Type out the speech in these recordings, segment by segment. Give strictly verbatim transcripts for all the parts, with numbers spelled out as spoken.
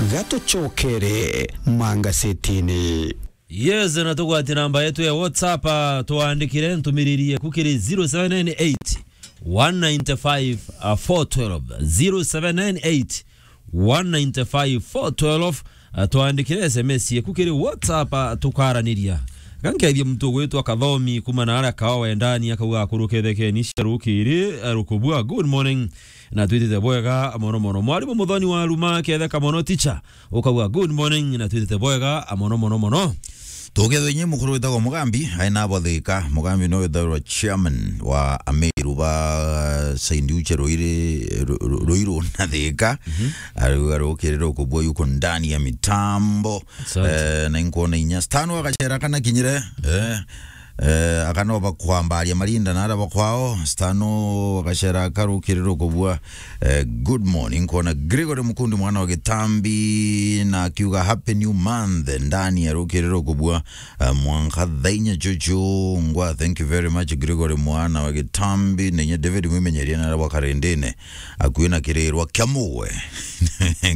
Gatucokere mangasetini. Yes, na tugwati namba yetu ya WhatsApp, ah, twandikire ntumiriri yeku kiri zero seven nine eight, one nine five, four twelve, zero seven nine eight, one nine five, four twelve, ah, twandikire S M S yeku kiri WhatsApp, ah, tukaraniria. Gankethia muntu ugwitwa Kathomi kuma na aria Kaowe ndani akauga, "Akuru kethekeni cia rukiri, ah, rukubua. Good morning." Na twitite bwega mono mono. Mwarimu Muthoni wa Ruma, ketheka mono teacher. Ukauga, "Good morning," na twitite bwega mono mono mono. Tugethwe inye mukuru witagwa Mugambi, aina abo Thika. Mugambi no witagwa chairman wa Ameru ba Saint Uche Ruiri, Ru-, Ru-, Ruiru na Thika. Mhm. Ariuga rukiri rukubua yuko ndani ya mitambo. Asante. Eh, na inkuona inya. Stano agacera kana kinyire. Eh. Eh, akanoba kwambaria marinda na araba kwao, Stano agacera akarukirira kubua. Eh, good morning, kwona Gregory Mukundi mwana wa Gitambi, na akiuga, "Happy new month," ndani ya rukirira kubua. Eh, mwanka thainya chuchu ngwa, thank you very much, Gregory mwana wa Gitambi, na inya David Mwimenyeria na araba karindine, akui na kirirwa kia mugwe.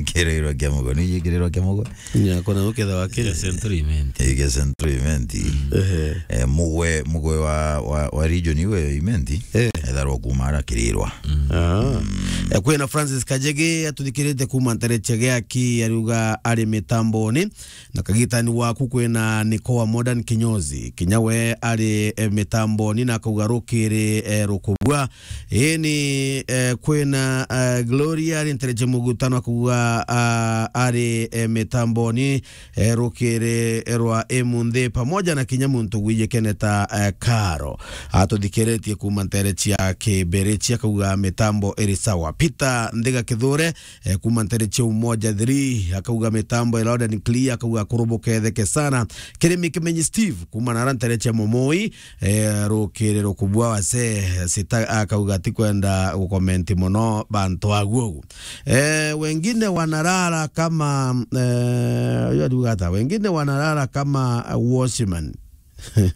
Kirirwa kia mugwe, ni kirirwa kia mugwe? Nya, kona uketha wa Kenya. Central Imenti. Ige Central Imenti. Mm. Ehe. Eh, mugwe, mugwe wa, wa, wa region iwe Imenti. Eh. Etharwa kuma ara kirirwa. Mm. Ah. Mm. Eh, kwina Francis Kajege atuthikirite kuma ntereche giaki, ariuga ari mitamboni. Na kagitani waku kwina Nikoa Modern Kinyozi. Kinya we ari, eh, mitamboni na akauga rukiri, eh, rukubua. Ini, eh, kwina, eh, Gloria ari ntereche mugutano akauga, ah, ari, eh, mitamboni, eh, rukiri rwa imunthi pamoja na kinya muntu gwijikene ta, eh, Karo. Atuthikiritie kuma ntereche ya Kibirichi akauga mitambo iri sawa. Peter Nthiga Kithure, eh, kuma ntereche Umoja three akauga mitambo iri loud and clear, akauga kurubuketheke sana. Kirimi Kimenyi Steve kuma nara ntereche Momoi, eh, rukiri rukubua wase sita akauga atikwenda gukomenti mono bantu aguo. Eh, wengine wanalala kama, eh, uyu ariuga ata? Wengine wanalala kama watchman.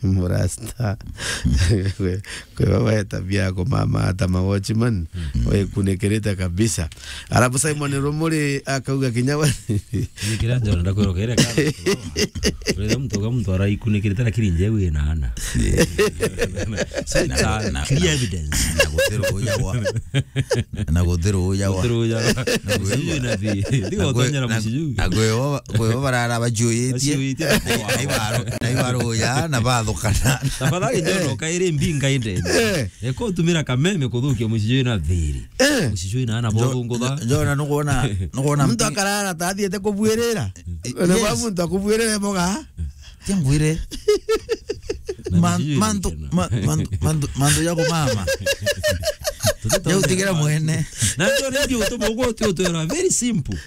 Murasta. Kwe, kwe baba ya tabia yako mama ata ma watchman. Mm. Wekunikirite kabisa. Alafu Simon Rumuri akauga kinya we. Ni kira njona ndakwirwo kere kana. Uretha muntu uga muntu araikunikirite lakini nje wi na ana. So it's a clear evidence. Na gutiru uja gwa. Na gutiru uja gwa. Gutiru uja gwa. Na gutiru uja gwa. Muciju na thi. Ndigo tonyera muciju. Na gwe, gwe barara bajuitie. Bajuitie. Na ibaro, na ibaro uja na bathukana. Tafadhali njono kairi mbinga inde. Eh. Eko tumira kameme kuthukia muciju na thiri. Eh. Muciju na ana bothungutha. Njona nukwona, nukwona muntu akarara ta athiete kubuirira. Eh, na ba muntu akubuirira boga. Tia ngwire. Na man-, nijui mantu, nini ma-, mantu, mantu, mantu ya kumama. Tuti ya utigera mwene. Na ndio ndio utuma ugo tu tu era very simple.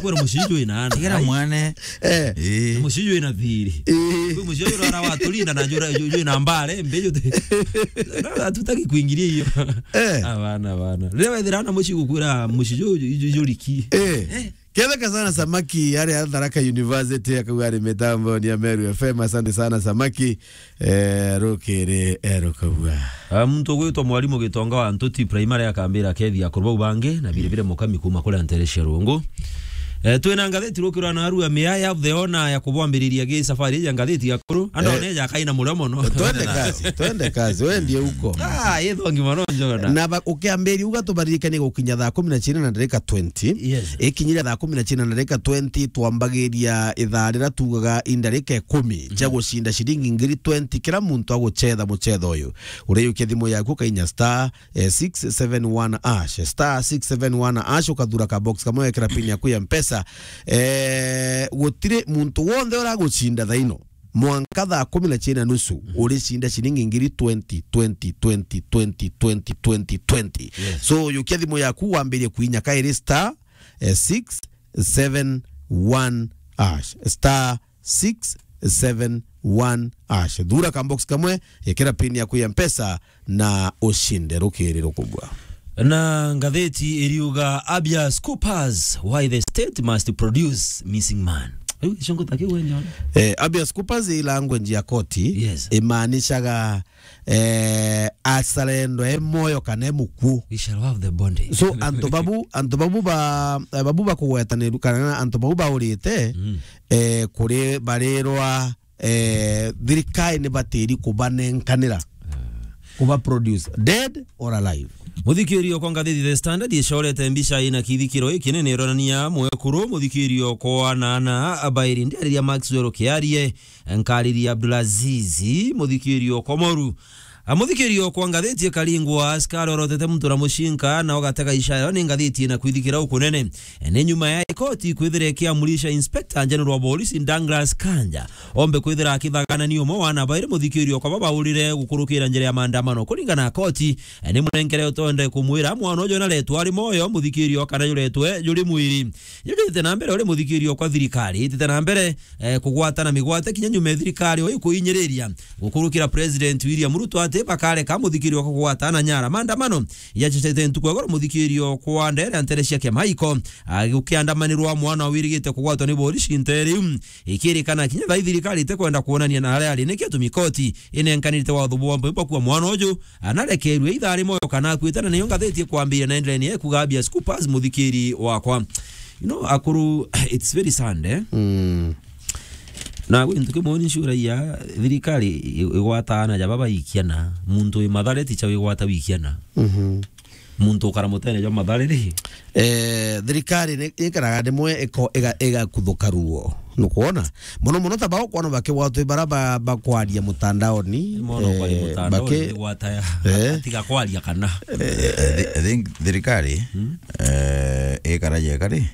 Kwa muciju ina ana. Tigera mwene. Eh. Eh. Muciju ina thiri. Eh. Kwa muciju ara watulinda na jura ju-, ju ina mbare mbeju. Na tutaki kuingiria hiyo. Eh. Abana, abana. Leo ethira na muciju kwira muciju ju-, ju-, juriki. Eh. Eh. Ketheka sana Samaki, ari a Tharaka University, akauga ari mitambo ni ya Meru F M. Asante sana Samaki. Eh, rukiri, eh, rukabua. Ah, muntu ugwitwa Mwarimu Gitonga wa Ntuti Primary akambira kethi akuru bau bangi, na biri bire mukami kuma kuria ntere cia Rungu. Eh, twina ngatheti rukirwa na arua miaya the ona ya kubwambiriria gi safari ya ngatheti ya kuru. Ando eh, ne ya kaina murio mono. Twende kazi, twende kazi. Wewe ndiye uko. Ah, yethongi mono njona. Na ba-, ukiambiri uga tubaririkanie gukinya thaa kumi na china na ndarika twenty. Yes. Ikinyire thaa kumi na china na ndarika twenty, twambagiria ithaa rira tugaga indarika ikumi, mhm, cia gucinda ciringi ngiri twenty kira muntu agucetha mucetho uyu. Ureyukia thimu yaku kainya star, eh, six seven one hash, star six seven one hash, ukathura ka box kamwe, wekira pin yaku ya Mpesa. Eh, gutiri muntu wonthe uragucinda thaino. Mwanka thaa kumi na china nusu, mhm, uricinda ciringi ngiri twenty, twenty, twenty, twenty, twenty, twenty, twenty. Yes. So, yukia thimu yaku, wambirie kuinya kairi star, eh, six seven one hash. Star six seven one hash. Thura ka box kamwe, ekera pin yaku ya Mpesa na ucinde rukiri rukubwa. Na ngatheti iriuga, Abia Scoopers, why the state must produce missing man. Riu gicungu ta kiu we nyona? Eh, habeas corpus i language ya koti. Yes. Imaanishaga, eh, asalendo e moyo kana e mukuu. We shall have the bondage. So, antu babu, antu babu ba, eh, babu bakugwetanirwa kana antu babu baurite, Mm. eh, kuri barirwa, eh, thirikari ni batiri kubanenkanira. Ah. Kuba produce, dead or alive. Muthikirio kwa ngathiti The Standard icorete mbica ina kithikiro ikinene ironania mwekuru muthikirio kwa nana abairi ndiariria Maxwell Kiarie, nkariria Abdulaziz, muthikirio kwa moru. A, muthikirio kwa ngathiti ikaringwa askari orotete muntu na mucinka na ugatega ishara ni ngathiti na kwithikira ukunene. E, ni nyuma ya ikoti kwithira ikiamurisha Inspector General wa Polisi Douglas Kanja ombe kwithira akithaganania umwe wa ana bairi muthikirio kwa babaurire gukurukira njira ya maandamano. Kuringana na koti, e, ni munenkere utonde kumwira mwana uju naretwe ari moyo muthikirio kana juretwe juri mwiri. Jujite na mbere uri muthikirio kwa thirikari itite na mbere, e, kugwatana migwate kinya nyuma ya thirikari o ikuinyiriria gukurukira President William Ruto ati bakareka muthikirio kwa kugwatana nyara. Maandamano yacecete ntuku ya goro muthikirio kwa ndere ntere cia kiama iko, a, gukiandamanirwa mwana wirigite kugwatwa ni borisi ntere iu. Ikirikana kinya thaa ii thirikari itikwenda kuonania na aria ari, niki atumi koti inenkanirite watho bwa mbui bakua mwana uju, anarekerue ithaa ri moyo kana akuite, na niyo ngathiti ikwambiria na endelea ni ekuga habeas corpus muthikiri wakwa. You know, akuru, it's very sad, eh? Mm. Na gwi ntu kimwe ni ncuragia, thirikari i-, igwata ana ja baba ikiana, muntu wi Mathare ti cha wigwata wikiana. Mhm. Muntu ukara mutene jwa Mathare ri? Eh, thirikari ni ikaraga rimwe iko-, iga-, igakuthuka ruo. Nukwona? Muno muno ta bao kwona bakigwatwa bara ba-, bakwaria mutandaoni, Mono kwaria eh, mutandaoni baki-, ni gwata ya, eh. Atiga kwaria kana. Eh, I thi-, I think thirikari, Hmm? eh, ikara jeka ri,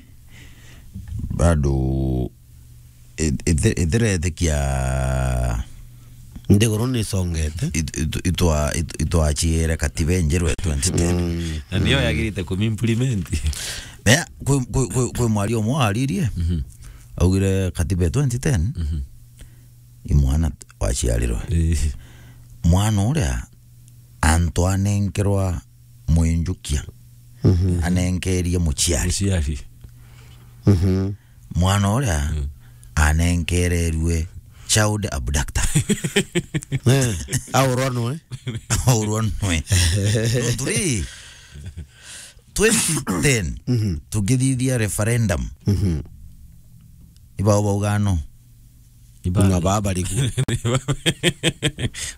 bado i-, ithi-, ithiretikia Nthiguru ni isongete. It-, it-, itwa-, it-, itwachiere katiba enjeru ya twenty ten. Mm. Na niyo yagirite kumimplement. Mea, kwi, kwi, kwi, kwi mwaria umwe waririe, Mhm. augire katiba ya twenty ten, Mhm. i mwana waciarirwe. Eh. Mwana uria antu anenkerwa mwinjukia, Mhm. anenkerie muciari. Muciari. Mhm. Mwana uria Mm. anenkererue child abductor. Eh, aurwa nwe. Aurwa nwe. Nontu ri, twenty ten, Mhm. tugithithia referendum. Mhm. Ibao bauga no. Ibao. Ng'a baba riku.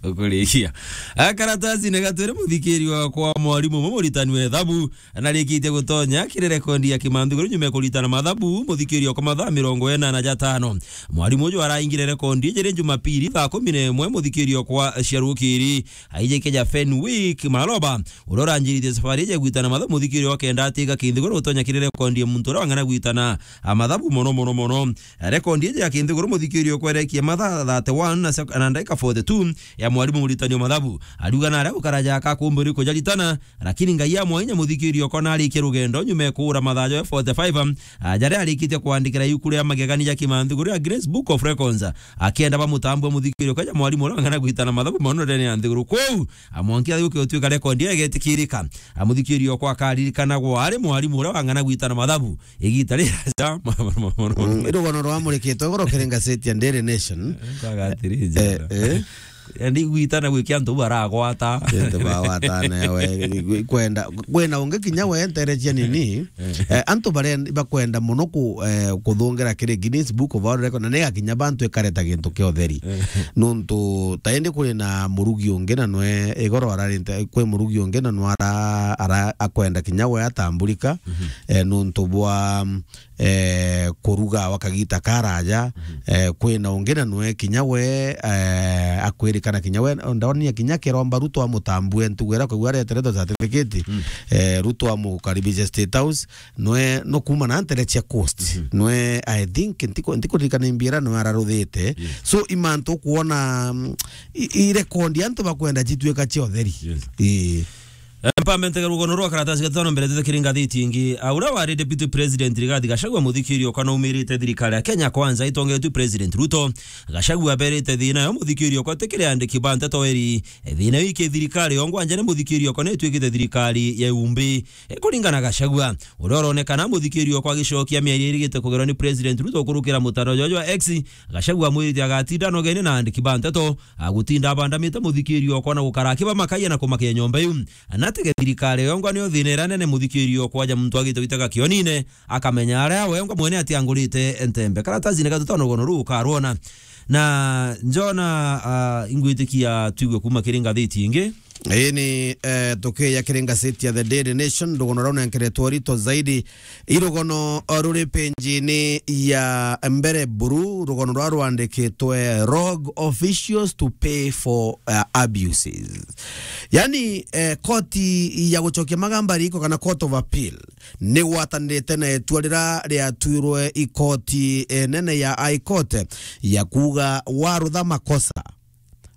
Ukurikia. Akaratasi ni gatwire muthikiri wa kwa mwarimu umwe muritani wa ethabu, na arikitie gutonya kiri rekondi ya Kimanthiguru nyuma ya kuritana mathabu, muthikiri wa kwa mathaa mirongo inana ja tano. Mwarimu uju araingire rekondi iji ri Jumapili thaa kumi na imwe, muthikiri wa kwa cia rukiri, aijike ja Fenwick Maloba, uria uranjiritie safari iji ya gwitana mathabu, muthikiri wa kenda atiga Kinthiguru gutonya kiri rekondi ya muntu uria wang'ana gwitana a mathabu mono, mono, mono. Rekondi iji ya Kinthiguru muthikiri ukwerekia mathaa thirty-one na sek-, na ndagika forty-two ya mwarimu muritani wa mathabu. Ariuga na aria gukara jaka kumburi kujaritana, lakini Ngai amwainya muthikiri okona arikia rugendo nyuma ya kuura mathaa jawe forty-five, a, jaria arikitie kwandikira iuku ria magegania ja Kimanthiguru ya Guinness Book of Records, akienda bamutambue muthikiri okaja mwarimu uria wang'ana gwitana mathabu mono ndene ya nthiguru. Kwou, a, mwanki athi gukiutuika rekondi iyo igetikirika. A, muthikiri okwa akaririkanagwa ari mwarimu uria wang'ana gwitana mathabu. Igita riraja, Mm, rugano rwamurikitwe igoro kiri ngaseti ya Daily Nation. Kwaga atiri, Eh, njara. eh. Yaani gwitana gwikia antu baragwata. Kende bagwatana we, kwenda, kwina ungi kinya we nterecia nini. Eh. Eh, antu baria bakwenda muno ku-, eh, kuthungira kiri Guinness Book of World Record, na ni gakinya bantu ikareta gintu kia utheri. Eh. Nuntu ta indi kuri na murugi ungi na nwe igoro ararinte, kwi murugi ungi na nwe ara, ara akwenda kinya we atamburika. Mhm. Eh, nuntu bwa, eh, kuruga wa kagita karaja, Mhm. eh, kwina ungi na nwe kinya we, eh, akwirikana kinya we, ndonania kinya kiromba Ruto amutambue, ntugu ira kwigua areteretwe certificate, Mm. eh, Ruto amukaribishe State House, nwe no kuma na ntere cia coast. Mhm. Nwe, I think, ntiko-, ntikuririkana imbira nwe araruthite. Yes. So, imantu kuona, mm, i, i rekondi antu bakwenda cituika cia utheri. Yes. Ii. Pambe ntege rugono rwa karatasi gatano mbere tete kiri ngathiti ingi. A, uria wari Deputy President Rigathi Gachagua, muthikiri okwa naumirite thirikari ya Kenya Kwanza itongetwe President Ruto. Gachagua aberite thina yo muthikiri okwa tikiri andiki ba nteto eri. E, thina wiki thirikari yongwa nja ni muthikiri okwa ni itwikite thirikari ya umbi. E, kuringana Gachagua, uria uronekana muthikiri okwa agicokia miario irigite kugerwa ni President Ruto kurukira mutandao jwa X, Gachagua amwirite agatinda anogene na andiki ba nteto, agutinda abandamite muthikiri okwa na gukara akibamakaia na kumakia nyomba iu. Na tege thirikari yongwa niyo thina iria nene muthikiri okwa ja muntu agite gwitega kionine, akamenya aria wengwa mwene atiangurite ntembe. Karatasi ni gatutano rugono ruu ukarwona. Na Njona, ah, ingwitikia twigue kuma kiri ngathiti ingi. Ii ni, eh, tukiya kiri ngathiti ya The Daily Nation, rugono rau nenkeretwo rito zaidi. Irugono, eh, ruri penjini ya mbere buru, rugono rwa rwandikitwe Rogue Officials to Pay for, eh, Abuses. Yani, eh, koti ya gucokia magamba riko kana Court of Appeal ni gwatanirite na itua rira riatuirwe i koti, eh, nene ya High Court ya kuuga warutha makosa,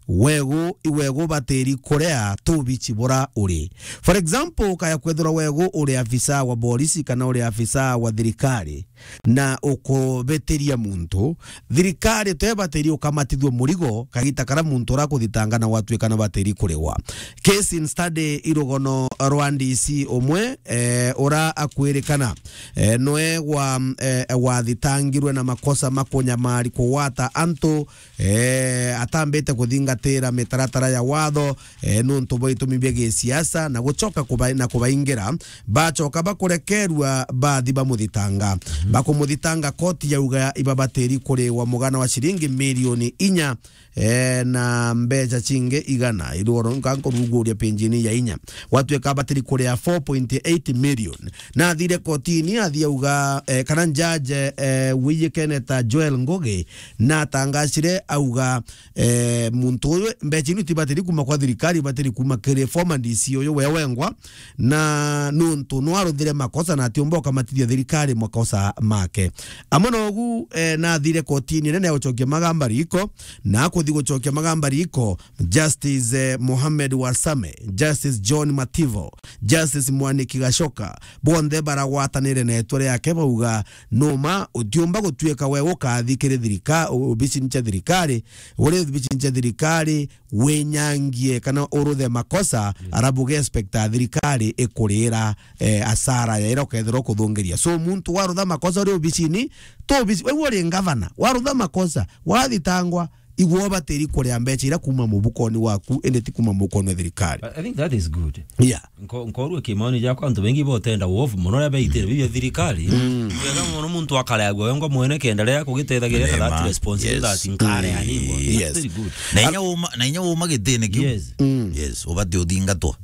wegu, iwegu batiri kurea tubici bura uri. For example, ukaya kwethirwa wegu uri afisa wa borisi kana uri afisa wa thirikari na ukubitiria muntu, thirikari te batiri ukamatithua murigo kagita kara muntu ura kuthitanga na gwatuika na batiri kurigwa. Case in study irugono rwa D C umwe, eh, ura akwirikana, eh, nwe gwa, eh, gwathitangirwe na makosa ma kunyamari kugwata antu, eh, atambite kuthingatira mitaratara ya watho, eh, nuntu bwa itumi bia gisiasa na gucoka kuba-, na kubaingira, bacoka bakurekerua bathi bamuthitanga. Mhm. Bakumuthitanga, koti yauga ibabatiri kuriwa mugana wa ciringi milioni inya, eh, na mbeca cingi igana. Iruoro nka nkuruguria penjini ya inya. Gwatuika batiri kuria four point eight million. Na athire kotini, athi auga, eh, kana judge, eh, wiyikene ta Joel Ngugi, na atangacire auga, eh, muntu uyu mbeca inu tibatiri kuma kwa thirikari, ibatiri kuma kiri former D C uyu we wengwa, na nuntu nwaruthire makosa na atiumba ukamatithia thirikari makosa make. Amwe na ugu, eh, nathire kotini nene ya gucokia magamba riko, na akuthi gucokia magamba riko, Justice, eh, Mohamed Warsame, Justice John Mativo, Justice Mwaniki Gachoka, bonthe baragwatanire na itwa riake bauga, numa utiumba gutuika we ukathi kiri thirika-, obicini cia thirikari, uri obicini cia thirikari, winyangie kana uruthe makosa, yes, arabu ge expect a thirikari ikurira, eh, asara ya ira ukethirwa ukuthungiria. So, muntu warutha makosa uri obicini, to obici, we uri ngavana, warutha makosa, wathitangwa, igwe ubatiri kuria mbeca ira kuma mubukoni waku, indi ti kuma mubukoni wa thirikari. I, I think that is good. Yeah. Nko-, nkorua kimaoni jakwa, antu bengi botenda uovu mono ria beitire bibia thirikari. Mm. Wega mono muntu akareagua wengwa mwene kenda ria kugitethagiria na that responsibility, yes, nkare ya ningwa. Yes. That's very good. Na inya uma, na inya uma gitini kiu. Yes. Mm. Yes, ubati uthingatwa.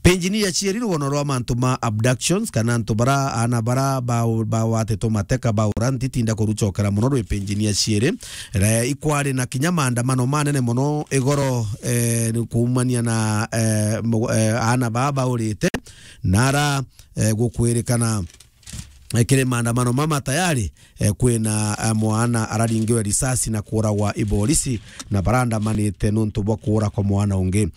Penjini ya cieri rugono rwa mantu ma abductions, kana antu bara, ana bara ba, bawatitwo mateka, baura, ntitinda kurucokera mono rwi penjini ya cieri. Re, ikwari na kinya maandamano manene mono igoro, eh, ni kuumania na, eh, mu-, eh, aana baa baurite, na ara, eh, gukwirikana, eh, kiri maandamano mama tayari, eh, kwina, eh, mwana araringiwe risasi na kuuragwa i borisi, na barandamanite nuntu bwa kuura kwa mwana ungi.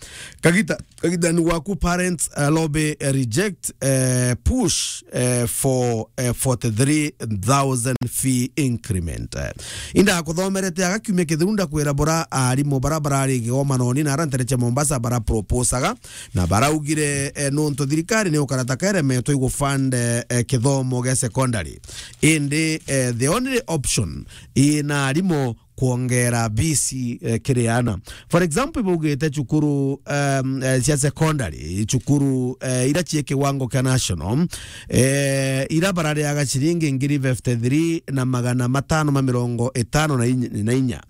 Kagita Kagitani waku, parents, eh, lobby, eh, reject, eh, push, eh, for, eh, forty-three thousand fee increment. Eh, inda kuthomerete aga kiumia kithiru, ndakwira bura arimu bara barari gigomanoni na ara ntere cia Mombasa bara proposaga na baraugire, eh, nuntu thirikari ni ukarata keremetwe igufund, eh, eh, kithomo gia secondary. Indi, eh, the only option ina arimu kwongera bisi, eh, kiri ana. For example, ibaugite cukuru, um, eh, cia secondary, cukuru, eh, ira cie kiwango kia national, eh, ira barariaga ciringi ngiri fifty-three na magana matano ma mirongo itano na inya, na inya.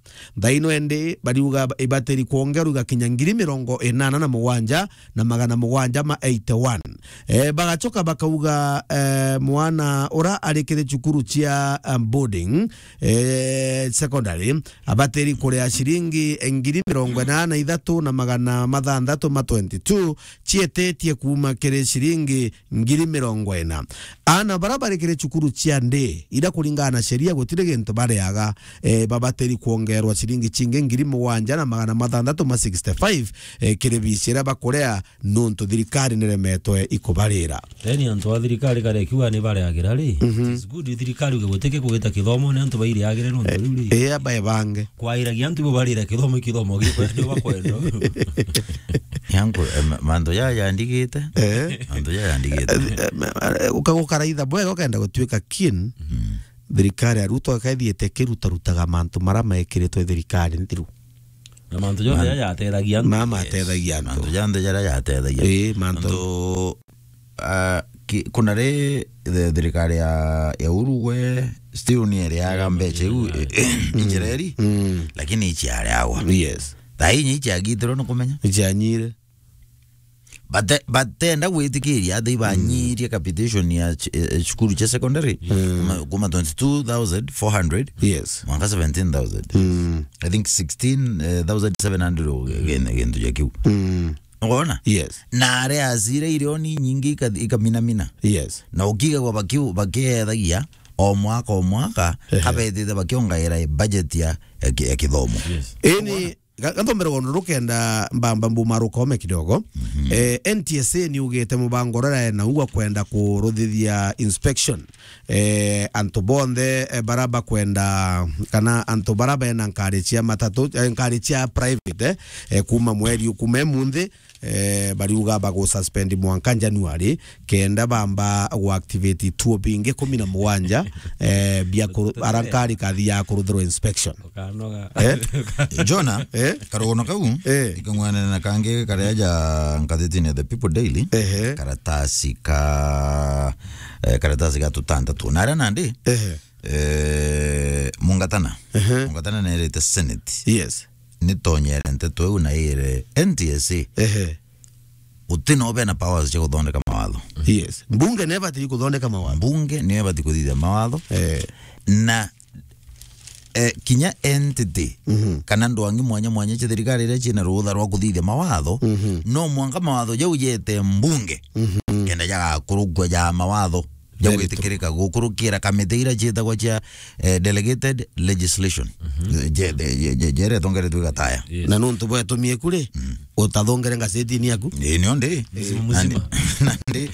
Thaino endi bariuga ibatiri kwongerwa igakinya ngiri mirongo inana na mugwanja na magana mugwanja ma eighty-one. Eh, bagacoka bakauga, eh, mwana ura ari kiri cukuru cia, um, boarding, eh, secondary, abatiri kuria ciringi ngiri mirongo inana na ithatu na magana mathanthatu ma twenty-two, cietitie kuuma kiri ciringi ngiri mirongo ina. Ana bara bari kiri cukuru cia ndi, ira kuringana na sheria gutiri gintu bariaga, eh, babatiri kwongerwa ciringi cingi ngiri mugwanja na magana mathanthatu ma sixty-five, eh, kiri bici iria bakuria, nontu thirikari niremetwe ikubarira. Yaani antu a thirikari kare kiuga ni bareagira ri. Mhm. It's good thirikari uge gutike kugita kithomo ni antu bairiagire nontu riu ri. Eh, aba ebange. Kwairagia antu ibo barira kithomo, kithomo gikwenda bakwenda. Yangu, eh, ma-, mantu ya yandigite. Eh. Mantu ya yandigite. Eh, eh, ma-, eh, uka-, ukaraitha bwega ukenda gutuika keen. Mm. Thirikari ya Ruto ikaithiite kirutarutaga mantu mara mekiritwe thirikari nthiru. Na mantu jonthe jaja atethagia antu. Mama atethagia antu. Mantu jonthe jaria jatethagia. Ii, mantu. Antu, ah, ki-, kuna ri, the, thirikari ya, ya Uhuru gwe, still ni iriaga mbeca iu, i-, i-, injira iri, mm, lakini iciariagwa. Yes. Thaa inya iciagitirwe ni kumenya. Icianyire. Bate-, batenda gwitikiria ati ibanyirie capitation ya ch-, eh, eh, cukuru cia secondary. Mm. Kuma, kuma twenty-two thousand four hundred, yes, mwanka seventeen thousand. Mm. I think sixteen thousand seven hundred o ge-, ge-, gintu ja kiu. Mm. Ukoona? Yes. Na aria acire irioni nyingi ika-, ikaminamina. Yes. Na ukigagwa baki-, bakiethagia o mwaka o mwaka, ehe, kabetite bakiongaira budget ya, ya ki-, ya kithomo. Yes. Ini Ga-, gathombere gondo rukenda mbamba mbuma rukome kidogo. Mhm. Eh, N T S A ni ugite mubango rara na ugwa kwenda kuruthithia inspection. Eh, antu bonthe, eh, bara bakwenda, kana antu bara bena nkari cia matatu, eh, nkari cia private, eh, eh, kuma mweri, kuma emunthi, eh, bariuga bagususpend mwanka January, kenda bamba guactivate ituo bingi kumi na mugwanja, eh, bia kuru-, ara nkari kathi ya kuruthirwa inspection. Ukanoga. Eh? Jona, eh? Karugono kau, eh, ikang'wanana na kangi karia ja ngathitine The People Daily, ehe, karatasi ka, eh, karatasi ga tutantatu. Na aria nandi, ehe, eh, Mungatana. Ehe. Mungatana nerite Senate. Yes. Nitonyere nteto iu na ire N T S A. Ehe. Guti no bena powers cia guthondeka mawatho. Yes. Mbunge niyo ibati kuthondeka mawatho. Mbunge niyo ibati kuthithia mawatho. Eh. Na, eh, kinya entity, mhm, kana ndwangi mwanya mwanya cia thirikari iria ciina rutha rwa kuthithia mawatho, mhm, no mwanka mawatho jau jete mbunge, mhm, kenda jagakurukua ja mawatho ja, very true, gwitikirika gukurukira kamiti iria ciitagwa cia, eh, delegated legislation. Mhm. Je-, je-, je-, je-, jere tongeretwe gataya. Yes. Na nontu bwetumie kuri, mm, utathongere ngazetini yaku? Ii, nio ndi. Mzima, mzima. Nandi, nandi,